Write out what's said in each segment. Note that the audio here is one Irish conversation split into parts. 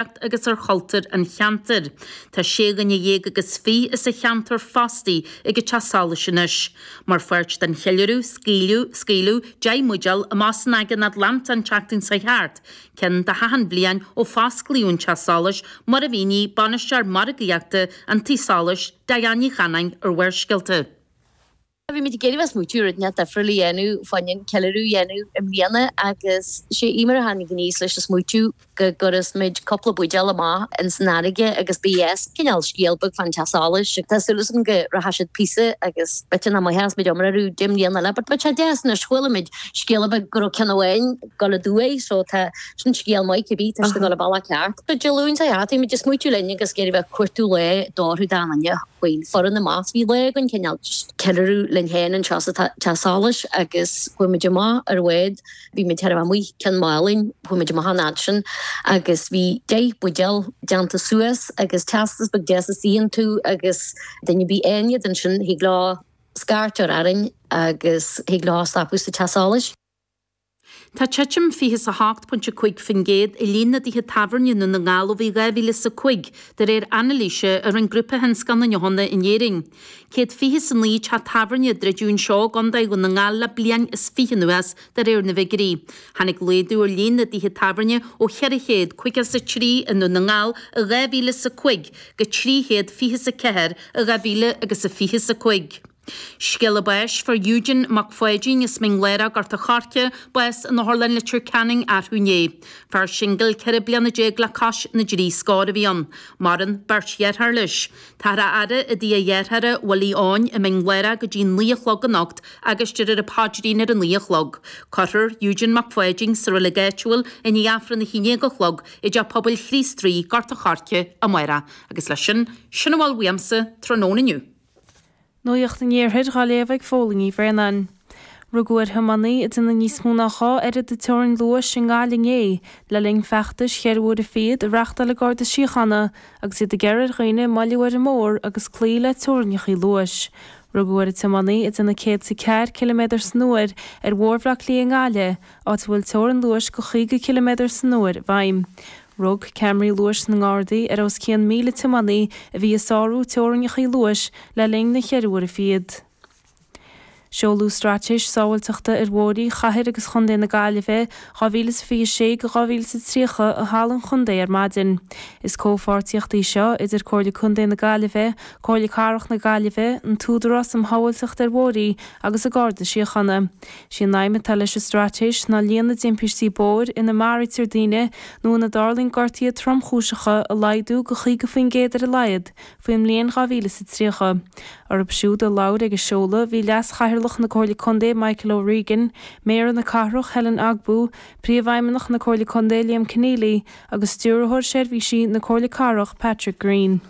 Agus ar chultúr an cheantair. Tá sé dhuine dhéag agus fiche as an cheantar fostaithe ag an teach solais anois. Mar pháirt den cheiliúradh, scaoileadh, scaoileadh 10 mbuidéal amach san Aigéan Atlantach an tseachtain seo thart, cionn de achan bhliain ó fosclaíodh an teach solais, mar a mhínigh Bainisteoir Margaíochta an Tí Solais, Diane Ní Chanáin ar Bharrscéalta. Bhí muid ag iarraidh bheith smaoitiú rud inteacht difriúil a dhéanamh fá choinne an ceiliúradh a dhéanamh i mbliana agus sé Eimear a tháinig aníos leis an smaoitiú go gcuirfeas muid cúpla buidéal amach ins an fharraige agus ba dheas cineál scéal beag fán teach solais. Tá súil agam go rachaidh siad píosa agus b'fhéidir nach mbeadh muid iomrá orthu 10 mbliana eile but beidh sé deas anois chuala muid scéala beag go raibh ceann amháin ag dul aduaidh so tá sin scéal maith cibé tá siad ag dul an bealach ceart. So Dé Luain seo chuaigh bhí muid ag smaoitiú linn agus ag iarraidh bheith ag cuartú lá d'fhóirfeadh d'achan duine. Chuaigh an foireann amach. Bhí lá againn cineál just ceiliúradh linn féin anseo sa teach solais agus chuaigh muid amach ar bhád. Bhí muid chóir a bheith amuigh Cionn Mhálainn, chuaigh muid amach an fhad sin agus bhí 10 buidéal déanta suas agus teastas beag deas istigh iontu agus duine ar bith a fhaigheann iad ansin thig leo scairt a chur orainn agus thig leo stopadh sa teach solais. Tá titim 28.5% i líon na dtithe tábhairne i nDún na nGall ó bhí 2005, de réir anailíse a rinne Grúpa Thionscal na nDeochanna in Éirinn. 129 teach tábhairne a druideadh anseo i gContae Dhún na nGall le bliain is fiche anuas, de réir na bhfigiúirí. Tháinig laghdú ar líon na dtithe tábhairne ó 453 i nDún na nGall i 2005 go 324 i 2025. Scéala báis Fuair Eugene Mac Pháidín as Mín Lárach, Gort a' Choirce, bás in Otharlann Leitir Ceanainn arú inné. Fear singil 14 bliana le cois na dtrí scór a bhí ann. Maireann beirt dheartháir leis. Táthar á fhaire i dtigh a dhearthára, Willie Eoin, i Mín Lárach go dtí 9 a chlog anocht agus déarfar an paidrín ar a 9 a chlog. Cuirfear Eugene Mac Pháidín sa reilig áitiúil i ndiaidh Aifreann a 11 a chlog i dTeach Pobail Chríost Rí, Gort a' Choirce, amárach. Agus leis sin, sin a bhfuil uaimse tráthnóna inniu. Nuacht an Iarthair dhá léamh ag Fódhla Ní Bhraonáin. Rugadh ar thiománaí ag déanamh níos mó ná 2 oiread de teorainn luais i nGaillimh inné le linn feachtais cheithre huaire fichead a reáchtáil an Garda Síochána agus iad ag iarraidh ar dhaoine moilliú ar an mbóthar agus cloí le teorainneacha luais. Rugadh ar an tiománaí ag déanamh 104 ciliméadar san uair ar Bhóthar Bhaile Átha Cliath i nGaillimh, áit a bhfuil teorainn luais de 50 ciliméadar san uair i bhfeidhm. Rug ceamaraí luais na nGardaí ar os cionn 1,000 tiománaí a bhí ag sárú teorainneacha luais le linn na cheithre huaire fichead. Seoladh Straitéis Sábháilteachta ar Bhóithre Chathair agus Chontae na Gaillimhe 2026-2030 i Halla an Chontae ar maidin. Is comhpháirtíocht í seo idir Comhairle Contae na Gaillimhe, Comhairle Cathrach na Gaillimhe, an tÚdarás um Shábháilteacht ar Bhóithre agus an Garda Síochána. Is í an aidhm atá leis an straitéis ná líon na dtimpistí bóthair ina maraítear daoine nó ina dtarlaíonn gortuithe tromchúiseacha a laghdú go 50% ar a laghad faoin mbliain 2030. Orthu siúd a labhair ag an seoladh bhí Leas-Chathaoirleach na Comhairle Contae Michael O'Regan, Méara na Cathrach Helen Ogbu, Príomhfheidhmeannach na Comhairle Contae Liam Conneally agus Stiúrthóir Seirbhísí na Comhairle Cathrach Patrick Greene.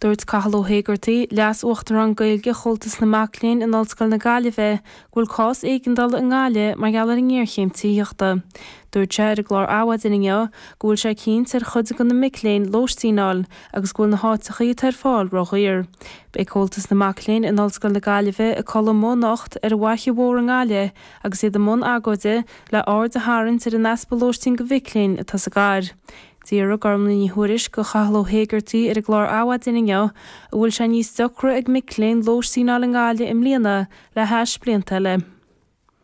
Dúirt Cathal Ó hÉigeartaigh, Leas-Uachtarán Gaeilge Chomhaltas na Mac Léinn in Ollscoil na Gaillimhe, go bhfuil cás éigeandála i nGaillimh mar gheall ar an ngéarchéim tithíochta. Dúirt sé ar an gclár Adhmhaidin inniu go bhfuil sé cinnte ar chuid de na mic léinn lóistín a fháil agus go bhfuil na háiteachaí atá ar fáil ródhaor. Beidh Comhaltas na Mac Léinn in Ollscoil na Gaillimhe ag codladh amuigh anocht ar an bhFaiche Mhór i nGaillimh agus iad i mbun agóide le aird a tharraingt ar an easpa lóistín do mhic léinn atá sa gcathair. D'fhiafraigh Gormlaith Ní Thuairisg de Chathal Ó hÉigeartaigh ar an gclár Adhmhaidin inniu an bhfuil sé níos deocra ag mic léinn lóistín a fháil i nGaillimh i mbliana le hais blianta eile.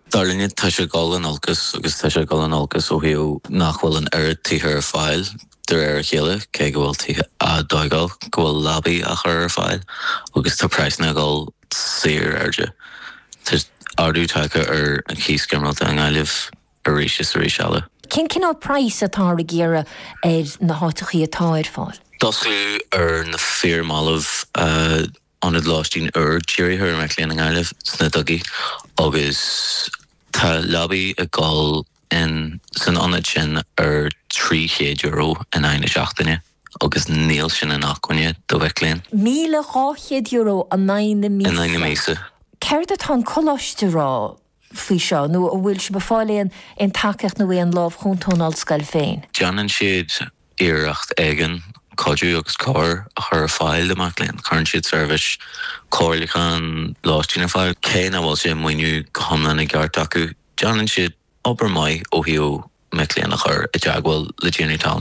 Dar linne, tá sé ag dul in olcas agus tá sé ag dul in olcas ó thaobh nach bhfuil an oiread tithe ar fáil de réir a chéile, cé go bhfuil tithe á dtógáil, go bhfuil leabaí á chur ar fáil agus tá praghsanna ag dul saor airde. Tá ardú tagtha ar an chíos ginearálta i nGaillimh. arís is arís eile. Cén cineál praghas atáthar ag iarraidh ar na háiteachaí atá ar fáil? D'osclaíodh ar na fíormhallaibh ionad lóistín úr dírithe ar mhic léinn i nGaillimh sna Dugaí agus tá leabaí ag dul in san ionad sin ar €300 in aghaidh na seachtaine agus níl sin inacmhainne do mhic léinn. €1,200 in aghaidh na míosa. In aghaidh na míosa. Céard atá an coláiste a rá faoi seo, nó an bhfuil sibh ag fáil aon aon tacaíocht nó aon lámh chúnta ón ollscoil féin? Déanann siad iarracht éigin cuidiú agus cabhair a chur ar fáil do mhic léinn. Cuireann siad seirbhís comhairliúcháin lóistín ar fáil. Cé nach bhfuil sé maoiniú go hiomlán i gceart acu, déanann siad obair maith ó thaobh. mic léinn a chur i dteagmháil le déanamh talún.